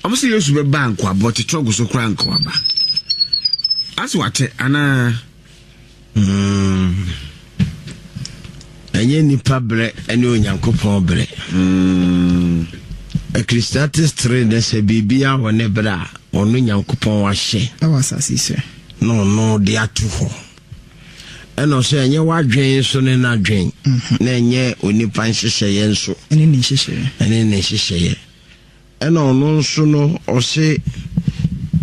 Ɔmo sɛ Yesu bɛba a nkoaba ɔte trɔgo so koraa nkoaba. Ase wakyɛ anaa? Mm. Ɛnyɛ nipa berɛ ne Onyankopɔn berɛ. Mm. Ecclesiastes 3 ne sɛ biribiara wɔ ne berɛ a ɔno Nyankopɔn ahyɛ. Ɛwɔ asase so. Na ɔno de ato hɔ. Ɛna ɔsɛ ɛnyɛ w'adwen nso ne n'adwen. Mhm. Na ɛnyɛ onipa nhyehyɛeɛ nso. Ɛne ne nhyehyɛeɛ. Ɛne ne nhyehyɛeɛ. Ɛna ɔno nso no ɔse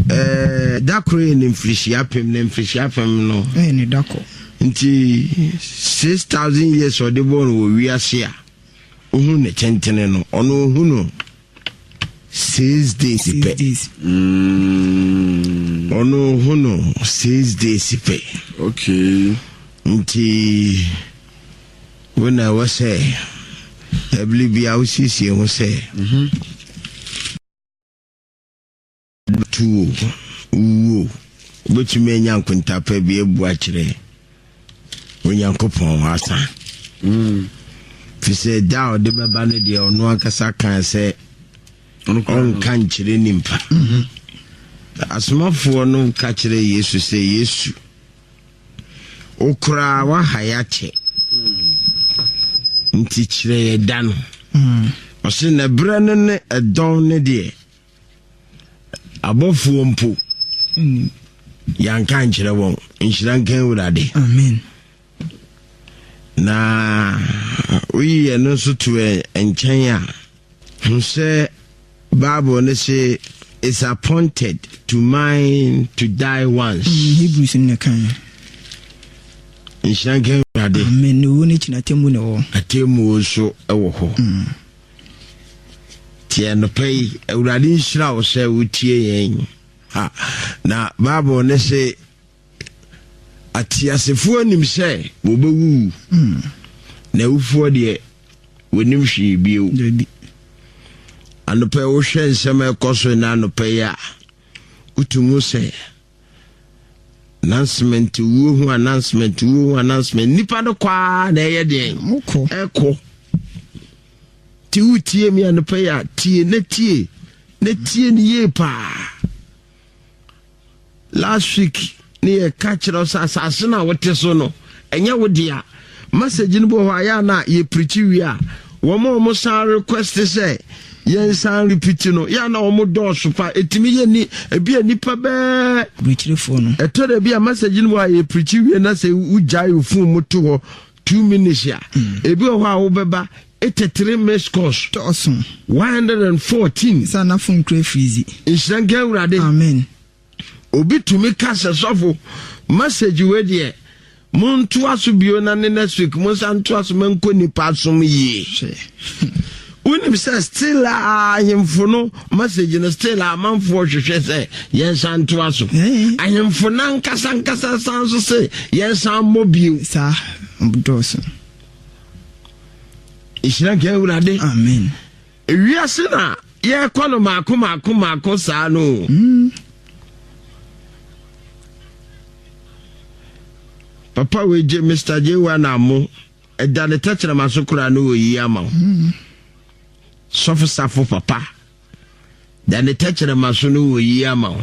ɛɛ da koro yɛ ne mfirihyia apem na mfirihyia apem no. Ɛyɛ ne da koro. Nti 6,000 years ɔde bɔɔ no wɔ wiase a ohu ne tentene no ɔno ohu no 6 days pɛ. 6 days. Ɔno ohu no 6 days pɛ. Nti wo na ɛwɔ sɛ ɛbere bia wosiesie ho sɛ tuo wuo wobɛtumi anya nkontapa bi abu akyerɛ Onyankopɔn asa. Fi sɛ da a ɔde bɛba no deɛ ɔno ankasa kaa sɛ ɔnka nkyerɛ nimpa. Asomafoɔ no ka kyerɛ Yesu sɛ Yesu wo koraa woaha yɛ akyɛ nti kyerɛ yɛ da no. Ɔse na berɛ no ne ɛdɔn ne deɛ abɔfoɔ mpo yɛanka nkyerɛ wɔn. Nhyira nka Awurade. Amen. Na woyi yɛn no nso to nkyɛn a, hu sɛ Bible no se is appointed to man to die once. Hebrews no na kan. Nhyira nka Awurade. Amen. Na owuo no akyi no atemmuo na ɛwɔ hɔ. Atemmuo nso wɔ hɔ. Nti anɔpa yi, Awurade nhyira wo sɛ wotie yɛn. Ha, na Bible no se ateasefoɔ nim sɛ wɔbɛwuwu, na awufoɔ deɛ wɔnim hwee bio. Anɔpa yi wohwɛ nsɛm a ɛkɔ so na anɔpa yi a, wotum sɛ announcement wuo ho announcement wuo ho announcement nipa no kɔ ara na ɛyɛ deɛn ɛkɔ. Nti wotie mi anɔpa yi a, tie na tie na tie no yie paa. Last week ne yɛka kyerɛ sɛ asase no a wote so no ɛnyɛ wo dea. Message no bi wɔ hɔ a yɛ a na yɛpirikyi wie a wɔn a wɔn san request sɛ yɛn san repeat no yɛ a na wɔn dɔɔso pa ɛtumi yɛ ni ebi a nipa bɛɛ Aburokyirefoɔ no. Ɛtɔ da bi a message no wɔ a yɛpirikyi wie na sɛ wogyae wo phone mu to hɔ 2 minutes a, ebi wɔ hɔ a wobɛba 83 missed calls. Dɔɔso. 114. Sɛ na phone kura freeze. Nhyira nka Awurade. Amen. Obi tumi ka sɛ sɔfo message wei deɛ montoa so bio na ne next week monsa ntoa so mankɔ nipa asom yie. Wonim sɛ still a ahemfo no message no still a amanfoɔ hwehwɛ sɛ yɛnsa ntoa so. Ahemfo no ankasa ankasa san so sɛ yɛnsa mmɔ bio. Saa dɔɔso. Nhyira nka Awurade. Amen. Ewiase na yɛkɔ no maako maako maako saa no. Papa wei gye Mr. J1 Amo ɛda ne tɛkyerɛma so koraa no wɔyi ama wo. Sɔfo safo papa da ne tɛkyerɛma so no wɔyi ama wo.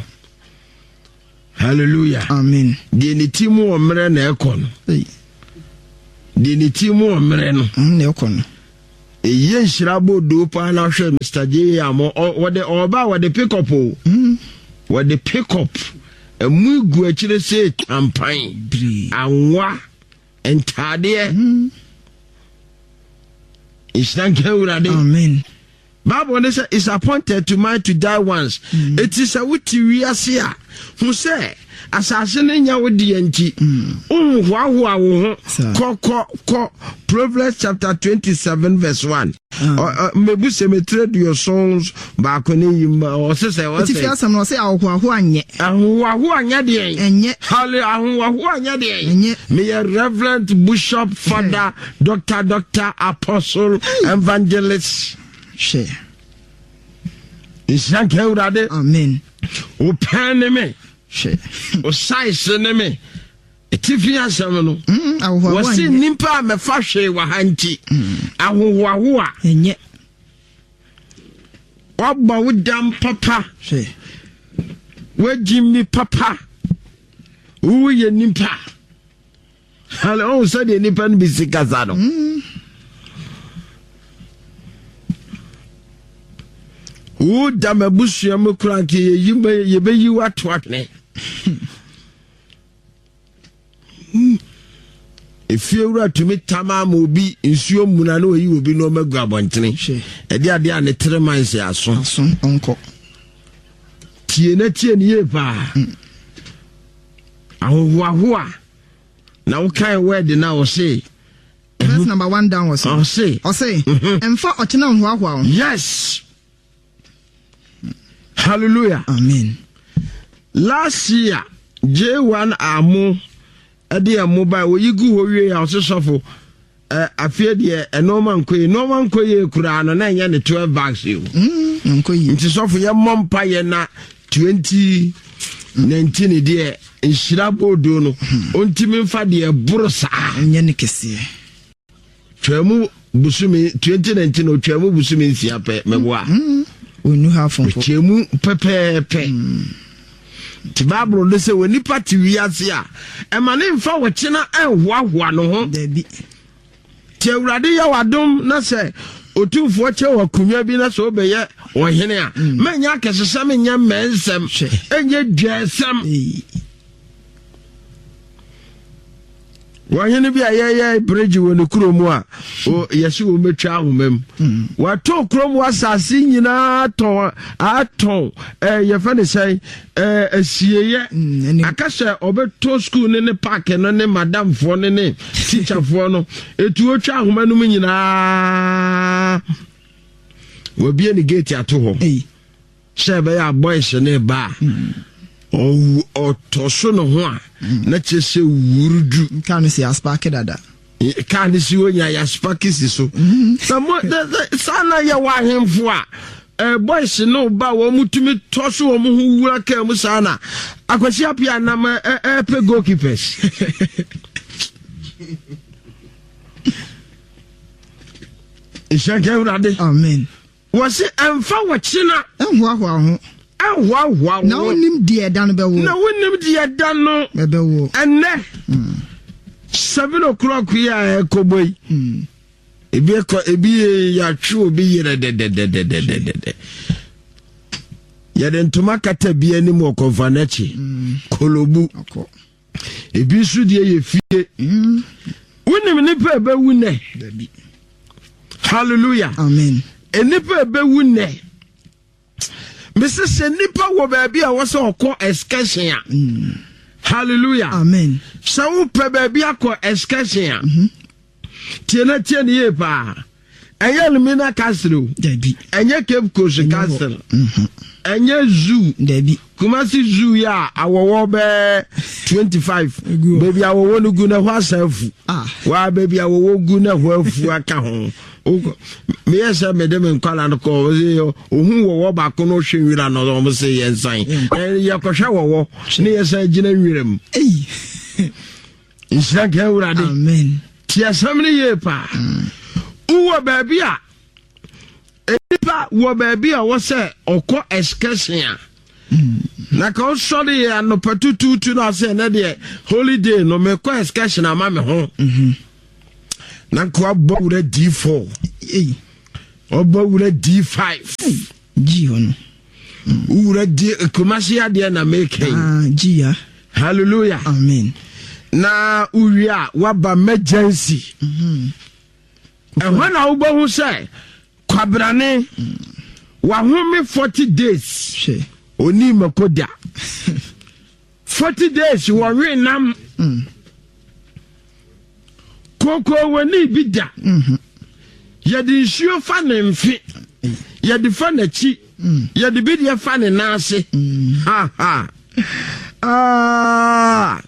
Hallelujah. Amen. Deɛ ne ti mu wɔ mmerɛ na ɛkɔ no. Deɛ ne ti mu wɔ mmerɛ no. Na ɛkɔ no. Ɛyɛ nhyira bɔ doo paa na hwɛ Mr. J Amo wɔde ɔba wɔde pick up o. Wɔde pick up. Ɛmu gu akyire sɛ tampan. Anwa. Ntaadeɛ. Nhyira nka Awurade. Amen. Bible ne sɛ is appointed to man to die once. Eti sɛ wote wiase a, hu sɛ asase no nyɛ wo deɛ nti, wonhoahoa wo ho. Kɔ kɔ kɔ Proverbs chapter 27 verse 1. Mmebu sɛ metire 71 ne yi ma ɔse sɛ ɔsɛ. Etifi asɛm no ɔse ahohoahoa nyɛ. Ahohoahoa nyɛ deɛn? Ɛnyɛ. Hale ahohoahoa nyɛ deɛn? Ɛnyɛ. Meyɛ Reverend Bishop Father Doctor Doctor Apostle Evangelist. Hwɛ. Nhyira nka Awurade. Amen. Wo pɛn ne me. Hwɛ. Wo size ne me. Etifi asɛm no. Ahohoahoa Wɔsi nyɛ. nnipa a mɛfa hwee wɔ ha nti. Ahohoahoa. Ɛnyɛ. Wabɔ wo dam papa. Wagyi mi papa. Woyɛ nipa. Hale ɔhu sɛdeɛ nipa no bi si kasa no. Woda m'abusua mu koraa nka yɛbɛyi wo ato atwene. Efiewura tumi tam ama obi nsuo mmuna na oyi obi nneɛma gu abɔntene. Ɛde adeɛ a ne tere man sɛ aso. Aso ɔnkɔ. Tie na tie ne yie paa. Ahohoahoa na wokae word na ɔse. Verse number one down ɔse. Ɔse. Ɔse. Mfa ɔkyena nhoahoa wo. Yes. Hallelujah. Amen. Last year J1 Amo ɛde ɛmo ba oyi gu hɔ wie a ɔse sɔfo ɛ afei deɛ ɛnɔɔma nkɔ yie nɔɔma nkɔ yie koraa no na ɛnyɛ ne 12 bags yi o. Nkɔ yie. Nti sɔfo yɛ mmɔ mpa yɛ na 2019 deɛ nhyira boodo no ɔntumi nfa deɛ ɛboro saa. Ɛnyɛ ne kɛseɛ. Twamu bosome 2019 otwamu bosome nsia pɛ mɛboa. Onu ha fomfo. Otwamu pɛpɛɛpɛ. Ti Bible no sɛ wɔ nipa te wiase a ɛma ne nfa wɔkyena ɛnhoahoa no ho. Dabi. Ti Awurade yɛ wadom na sɛ otumfoɔ kyɛ wɔ akonnwa bi na sɛ wobɛyɛ ɔhene a mɛnyɛ akɛsesɛm nyɛ mmɛnsɛm ɛnyɛ dwansɛm. Wɔhene bi a yɛyɛ bridge wɔ ne kurom a yɛse wɔn bɛtwa ahoma mu. Wɔatɔ kurom wɔ asase nyinaa tɔn atɔn ɛɛ yɛfɛ ne sɛn ɛɛ asieyɛ. Aka sɛ ɔbɛtɔ sukuu ne ne paaki no ne madamfoɔ ne ne tikyafoɔ no etu otwa ahoma no mu nyinaa. Wɔabie ne gate ato hɔ. Sɛ ɛbɛyɛ a boys ne ba a ɔtɔ so ne ho a na kyerɛ sɛ wurudu. Kaa no si aspaake dada. Kaa no si hɔ nya yɛaspaake si so. Na mo saa na yɛwɔ ahemfo a eh, boys no ba wɔn tumi tɔ so wɔn ho wura kaa mu saa na Akwasi Appiah nam ɛpɛ goalkeepers. Nhyɛ nka Awurade. Amen. Wɔse ɛmfa wo kyena. Ɛnhoahoa wo ho. Ɛnhoahoa wo ho. Na wonnim deɛ ɛda no bɛwo. Na wonnim deɛ ɛda no. Ɛbɛwo. Ɛnnɛ. 7 o'clock yi a ɛkɔbɔ yi. Ebi ɛkɔ ebi yɛatwe obi yerɛ dɛdɛdɛdɛdɛdɛ. Yɛde ntoma kata bi anim wɔ kɔnfa n'akyi. Kolobu. Ebi nso deɛ yɛ fie. Wonim nipa ɛbɛwu nɛ. Hallelujah. Amen. Nipa ɛbɛwu nɛ. Mese sɛ nipa wɔ baabi a wɔsɛ ɔkɔ excursion a. Hallelujah. Amen. Sɛ wopɛ baabi akɔ excursion a. Tie na tie ne yie paa. Ɛnyɛ Elmina Castle o. Dabi. Ɛnyɛ Cape Coast Castle. Ɛnyɛ zoo. Dabi. Kumasi zoo yi a awɔwɔ bɛɛ 25. Baabi awɔwɔ no gu na ɛhɔ asa afu. Ah. Waa baabi awɔwɔ gu na ɛhɔ afu aka ho. Meyɛ sɛ mede me nkwala no kɔ ohun wɔwɔ baako no hwɛ nwira no wɔn se yɛn nsan. Yɛkɔhwɛ wɔwɔ ne yɛsan gyina nwira mu. Nhyira nka Awurade. Amen. Ti asɛm no yie paa. Wowɔ baabi a nipa wɔ baabi a wɔ sɛ ɔkɔ excursion a na ka ɔsɔre yɛ anɔpa tutuutu na ɔsɛ ɛnɛ deɛ holiday no mekɔ excursion ama me ho na nka wabɔ wura D4 ɔbɔ wura D5 G hɔ no. Wura D Kumasi adeɛ na meka yi. Ah, G ya. Hallelujah. Amen. Na wowie a woaba emergency. Ɛhɔ na wobɛhu sɛ kwabrane wahome 40 days. Hwɛ. Oni mako da. 40 days wɔwe nam. Kooko wɔni bi da. Yɛde nsuo fa ne mfe. Yɛde fa n'akyi. Yɛde bi deɛ fa ne nan ase. Ha ha. Ah.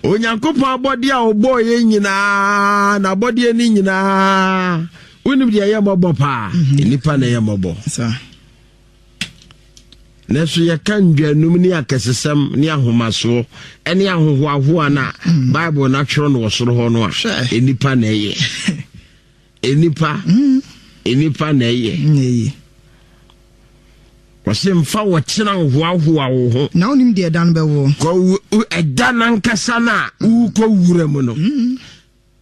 Onyankopɔn abɔdeɛ a ɔbɔɔ yɛ nyinaa na abɔdeɛ no nyinaa wonim deɛ ɛyɛ mmɔbɔ paa. Nnipa na ɛyɛ mmɔbɔ. Nanso yɛka ndwanum ne akɛsesɛm ne ahomasoɔ ne ahohoahoa no a Bible no atwerɛ no wɔ soro hɔ no a, nnipa na ɛyɛ. Nnipa. Nnipa na ɛyɛ. Wɔse mfa wɔkyena nhoahoa wo ho. Na wonim deɛ ɛda no bɛwoɔ. Kɔ ɛda no ankasa no a wokɔ wura mu no. Mm.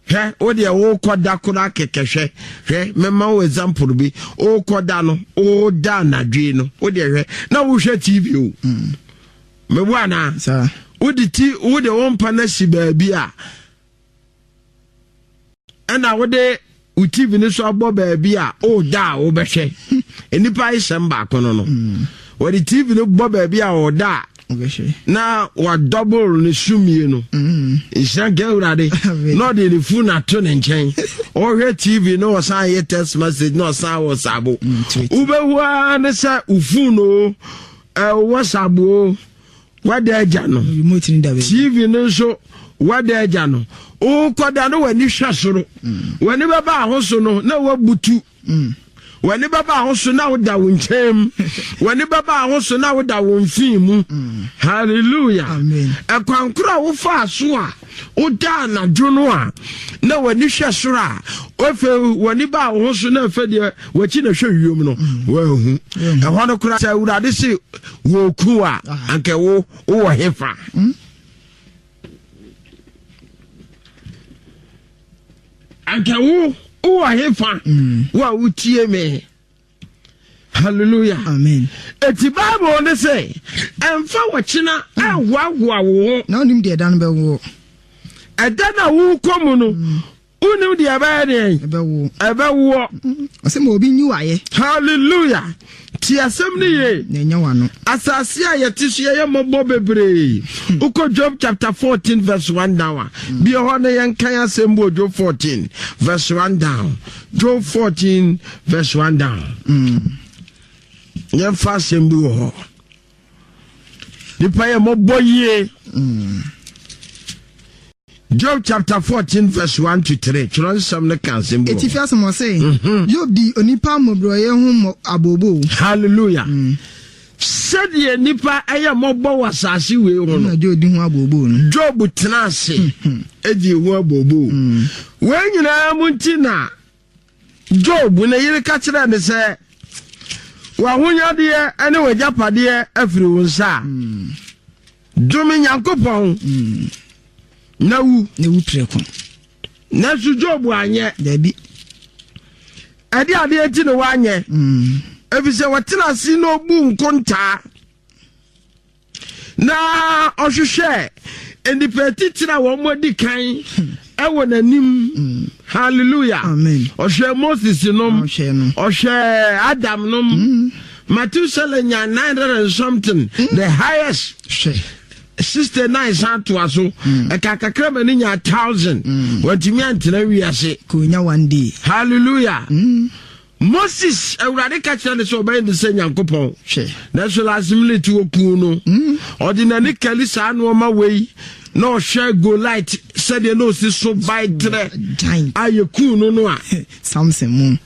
Hwɛ, wo deɛ wokɔ da koraa kɛkɛ hwɛ, hwɛ, mɛma wo example bi, wokɔ da no, woda anadwo no, wo deɛ hwɛ, na wohwɛ TV o. Mm. Mebo anaa? Wode ti, wode wo mpa no asi baabi a, ɛna wode wo tv no so abɔ baabi a ɔda a wobɛhwɛ nnipa ayesɛm baako no no mm. wɔde tv no bɔ baabi a ɔda a na wadɔbol ne sumie no mm. nhyira nka awurade na ɔde ne fon ato ne nkyɛn ɔhwɛ tv na ɔsan yɛ text message na ɔsan wɔ sabo mm, wobɛhu ara ne sɛ wo fon o ɛwɔ sabo o Wada agya no. TV no nso wada agya no. Wokɔda no w'ani hwɛ soro. Mm. W'ani bɛba ahoso no na wabutu. Mm. W'ani bɛba ahoso na woda wo nkyɛn mu. W'ani bɛba ahoso na woda wo mfin mu. Mm. Hallelujah. Ɛkwan koro a wofaa so a woda anadwo no a na w'ani hwɛ soro a afei w'ani ba wo ho so na afei deɛ w'akyi na hwɛ wiem no woahu. Ɛhɔ no koraa sɛ Awurade se wɔku a ah. anka wo wowɔ hefa hmm? anka wo wowɔ hefa hmm. wo a wotie me hallelujah amen eti bible ne sɛ ɛmfa wɔkyena hmm. ɛhoahoa wo ho na wonim deɛ ɛda no bɛwoɔ ɛda no a wokɔ mu no Wonim deɛ ɛbɛyɛ deɛn? Ɛbɛwoɔ. Ɛbɛwoɔ. Ɔsɛ ma obi nyi wayɛ. Hallelujah. Ti asɛm no yie. Na ɛnyɛ wano. Asase a yɛte so yɛyɛ mmɔbɔ bebree. Wokɔ Job chapter 14 verse 1 down a. Hmm. Bi hɔ no yɛnkan asɛm bi wɔ Job 14 verse 1 down. Job 14 verse 1 down. Mm. Yɛmfa asɛm bi wɔ hɔ. Nipa yɛ mmɔbɔ yie. Mm. Job chapter 14 verse 1 to 3 twerɛ nsɛm no ka asɛm bi Etifi asɛm ɔse mhm. Job di onipa mmɔborɔyɛ ho mmɔ abooboo. Hallelujah. Mm. Sɛdeɛ nipa ɛyɛ mmɔbɔ wɔ asase wei ho no. Job di ho abooboo no. Job tena ase mhm. edi ho abooboo. Mm. Wei nyinaa mu nti na Job ne yere ka kyerɛɛ no sɛ, W'ahonyadeɛ ne w'agyapadeɛ afiri wo nsa a, dome Nyankopɔn na wu. Na wu prɛko. Nanso Job anyɛ. Dabi. Ɛde adeɛ nti na wanyɛ. Efisɛ wɔtena ase na obu nkontaa. na ɔhwehwɛ nnipa atitire a wɔn adi kan ɛwɔ n'anim mm. hallelujah ɔhwɛ moses nom ɔhwɛ adam nom mm. Methuselah nya nine hundred and something mm. the highest 69 san toa so ɛka kakra ma ne nya thousand wɔntumi antena wiase kò one day hallelujah. Moses, Awurade ka kyerɛ no sɛ ɔbɛyɛ no sɛ Nyankopɔn. Hwɛ. Nanso last minute wɔkuu no. Mm. Ɔde n'ani kali saa nneɛma wei na ɔhwɛ Goliath sɛdeɛ na ɔsi so bae trɛ a yɛkuu no no a. Samson mu.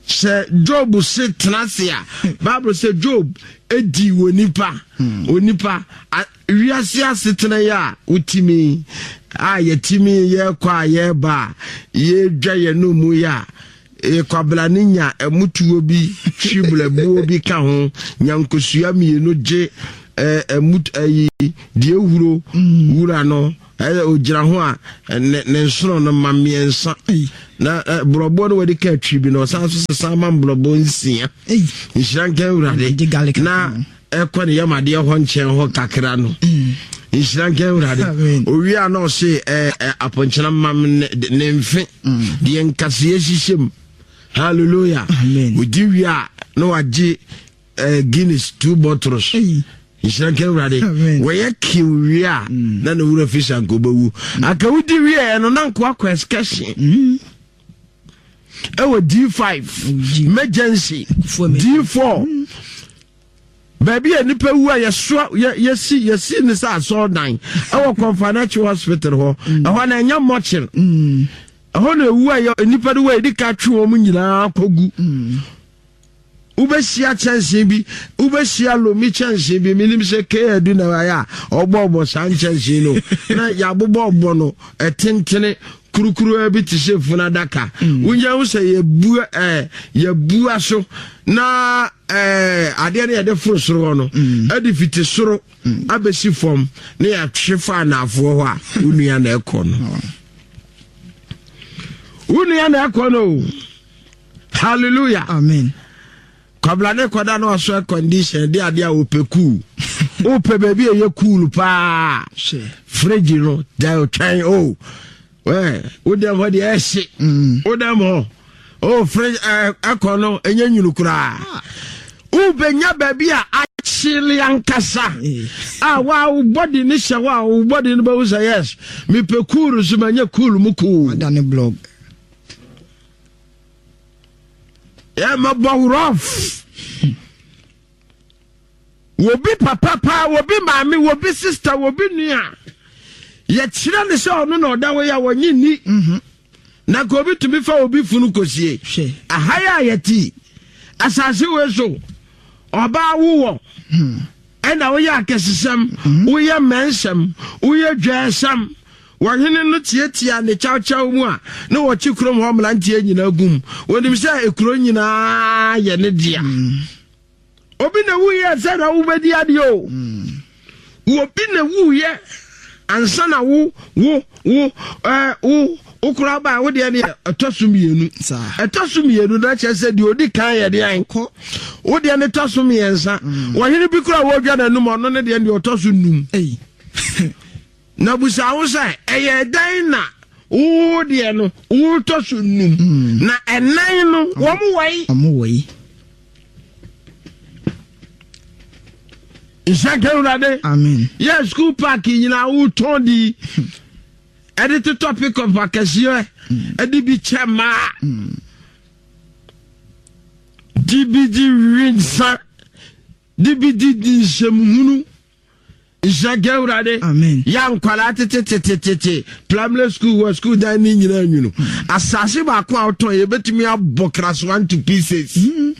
Sɛ Job se tena ase a, Bible sɛ Job di wɔ nipa, hmm. onipa Wiase asetena yi a wotumi a yɛtumi yɛkɔ a yɛba a yɛdwa yɛn no mu yi a kwabena ne nya ɛmutuo bi twi blɛbuo bi ka ho nya nkosua mmienu gye ɛmu ɛyi deɛ ehuro mm. wura no ɛyɛ ogyina ho a ne ne nsono no ma mmiɛnsa na borɔboɔ no wɔde ka twi bi na ɔsan so sesa ma borɔboɔ nsia nhyira nka awurade na ɛkɔ ne yam adeɛ hɔ nkyɛn hɔ kakra no mm. nhyira nka awurade owie a na ɔse apɔnkyena mam ne mfe mm. deɛ nkaseɛ hyehyɛ mu hallelujah ɔdi wie a na wagye guinness two bottles nhyira nka awurade wɔyɛ kiw wie a mm. na ne wura fi sa nka wobɛwu anka wodi wieɛ no na nkoa kɔ excursion ɛwɔ d5 emergency d4 mm. baabi a nipa wu a yɛsoa yɛsi yɛsi ne sɛ asɔɔdan ɛwɔ kɔnfanakyi hospital hɔ mm. ɛhɔ na ɛnyɛ mɔkyere mm. ɛhɔ na ewu a yɛ nipa no wɔ yɛde ka twe wɔn nyinaa kɔgu wobɛhyia kyɛnsee bi wobɛhyia lomi kyɛnsee bi menim sɛ kadu na ayɛ a ɔbɔɔbɔ saa nkyɛnsee no na yɛabobɔɔbɔ no ɛtentene. Kurukuruwa bi te sɛ funu adaka. Mm. Wonya ho sɛ yɛbua ɛɛ yɛbua so na ɛɛ adeɛ no yɛde foro soro hɔ no mm. ɛde fiti soro mm. abɛsi fam na yɛatwe fa anaafoɔ hɔ a wo nua na ɛkɔ no. Oh. Wo nua na ɛkɔ no o. Hallelujah. Amen. Kwabla ne kɔda na wasɔ air condition de adeɛ a wopɛ cool. Wopɛ baabi a ɛyɛ cool paa. Fridge no da otwɛn o. Wɛ wo dɛm hɔ deɛ ɛhye. Mm. Wo dɛm hɔ. O fridge ɛkɔ no ɛnyɛ nwunu koraa. Ah. Wobɛnya baabi a akyele ankasa. A wa wo body ne hyɛ hɔ a wo body no bɛhu sɛ yes. Mepɛ cool so manyɛ cool mu cool. Wadane blog. Yɛmɛbɔ rough. Wobi papa paa, wobi maame, wobi sister, wobi nua. Yɛkyerɛ ne sɛ ɔno na ɔda hɔ yi a wɔnye nni. Mhm. Na nka obi tumi fa obi funu kɔsie. Aha yi a yɛte asase wei so, ɔbaa wowɔ. Hmm. Ɛna woyɛ akɛsesɛm, mhm. woyɛ mmɛnsɛm, woyɛ dwɛɛsɛm. Ɔhene no tiatiaa ne kyawkyaw mu a na wɔkye kurom hɔ mmeranteɛ nyinaa gu mu. Wɔnim sɛ ekuro nyinaa yɛ ne dea. Mm. Obi na wuyɛ sɛ na wobɛdi adeɛ o. Mm. Obi na wuyɛ ansa na wo wo wo ɛɛ wo wo koraa baa wo deɛ deɛ ɛtɔ so mmienu. Ɛtɔ so mmienu na kyerɛ sɛ deɛ odi kan yɛ deɛ ankɔ. Wo deɛ ne tɔ so mmiɛnsa. Mm. Wɔhene bi koraa wɔdwa n'anum ɔno ne deɛ deɛ ɔtɔ so num. Na bisa ho sɛ, 'Ɛyɛɛ dɛn na wo deɛ no wotɔ so num, hmm. na ɛnan no wɔn wɔ yi? Wɔn wɔ yi. Nhyɛ nka Awurade. Amen. Yɛ school park nyinaa wotɔn di. Ɛde totɔ pick-up akɛseɛ. Hmm. Ɛde bi kyɛ mmaa. Hmm. Di bi di wi nsa. Di bi di di nsɛmhunu. Nhyira nka Awurade. Amen. Yɛ nkwadaa tetetetetete primary school wɔ school dan ne nyinaa nwunu. Asase baako a wotɔn yɛbɛtumi abɔ krasoa into pieces. Mm.